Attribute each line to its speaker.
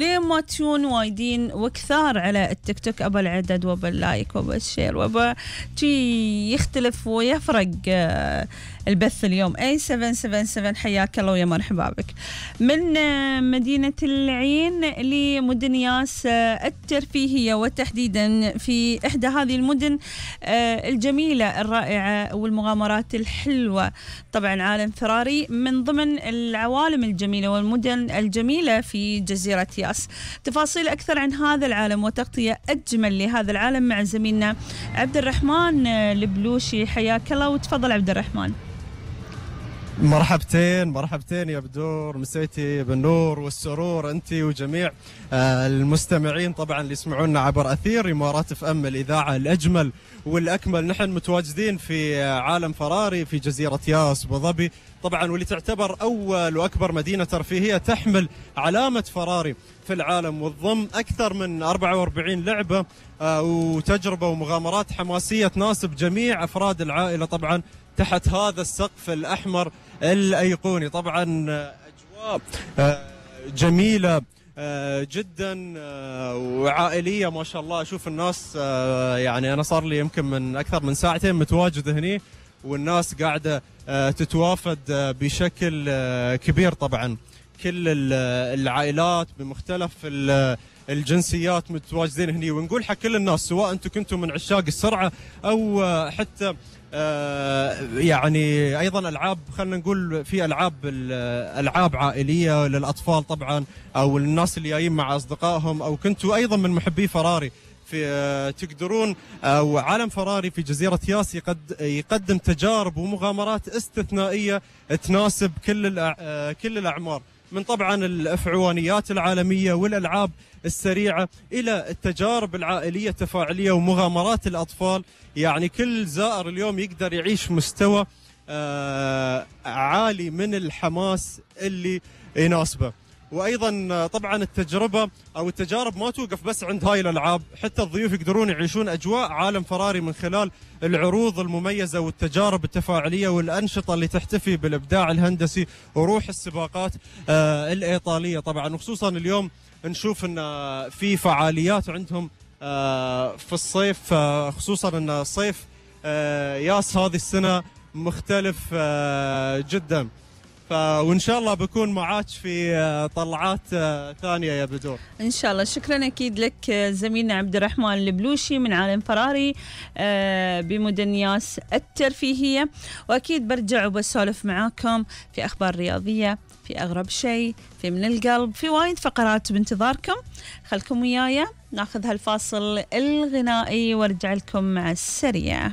Speaker 1: ليه ما تشون وايدين وكثار على التيك توك أبا العدد وأبا اللايك وأبا الشير وأبا شي يختلف ويفرق البث اليوم. أي 777 حياك الله ويا مرحبا بك من مدينة العين لمدن ياس الترفيهية، وتحديدا في إحدى هذه المدن الجميلة الرائعة والمغامرات الحلوة. طبعا عالم فراري من ضمن العوالم الجميلة والمدن الجميلة في جزيرة ياس. تفاصيل أكثر عن هذا العالم وتغطية أجمل لهذا العالم مع زميلنا عبد الرحمن البلوشي. حياك الله وتفضل عبد الرحمن.
Speaker 2: مرحبتين يا بدور، مسيتي بالنور والسرور انت وجميع المستمعين طبعا اللي يسمعونا عبر اثير امارات اف ام الاذاعه الاجمل والاكمل. نحن متواجدين في عالم فراري في جزيره ياس ابو ظبي طبعا، واللي تعتبر اول واكبر مدينه ترفيهيه تحمل علامه فراري في العالم، وتضم اكثر من 44 لعبه وتجربه ومغامرات حماسيه تناسب جميع افراد العائله طبعا تحت هذا السقف الأحمر الأيقوني. طبعا أجواء جميلة جدا وعائلية ما شاء الله. أشوف الناس يعني أنا صار لي يمكن من أكثر من ساعتين متواجد هني، والناس قاعدة تتوافد بشكل كبير طبعا. كل العائلات بمختلف الجنسيات متواجدين هني، ونقول حق كل الناس سواء أنتم كنتم من عشاق السرعة أو حتى يعني ايضا العاب، خلينا نقول في العاب عائليه للاطفال طبعا، او الناس اللي جايين مع اصدقائهم، او كنتوا ايضا من محبي فراري في تقدرون او عالم فراري في جزيره ياس يقدم تجارب ومغامرات استثنائيه تناسب كل الاعمار، من طبعا الافعوانيات العالميه والالعاب السريعه الى التجارب العائليه التفاعليه ومغامرات الاطفال. يعني كل زائر اليوم يقدر يعيش مستوى عالي من الحماس اللي يناسبه. وايضا طبعا التجربه او التجارب ما توقف بس عند هاي الالعاب، حتى الضيوف يقدرون يعيشون اجواء عالم فراري من خلال العروض المميزه والتجارب التفاعليه والانشطه اللي تحتفي بالابداع الهندسي وروح السباقات الايطاليه طبعا. وخصوصا اليوم نشوف ان في فعاليات عندهم في الصيف، خصوصا ان الصيف ياس هذه السنه مختلف جدا، وإن شاء الله بكون معاك في طلعات ثانية يا بدور
Speaker 1: إن شاء الله. شكرا أكيد لك زميلنا عبد الرحمن البلوشي من عالم فراري بمدن ياس الترفيهية. وأكيد برجع وبسولف معاكم في أخبار رياضية، في أغرب شيء، في من القلب، في وايد فقرات بانتظاركم. خلكم وياي ناخذ هالفاصل الغنائي وارجع لكم مع السريع.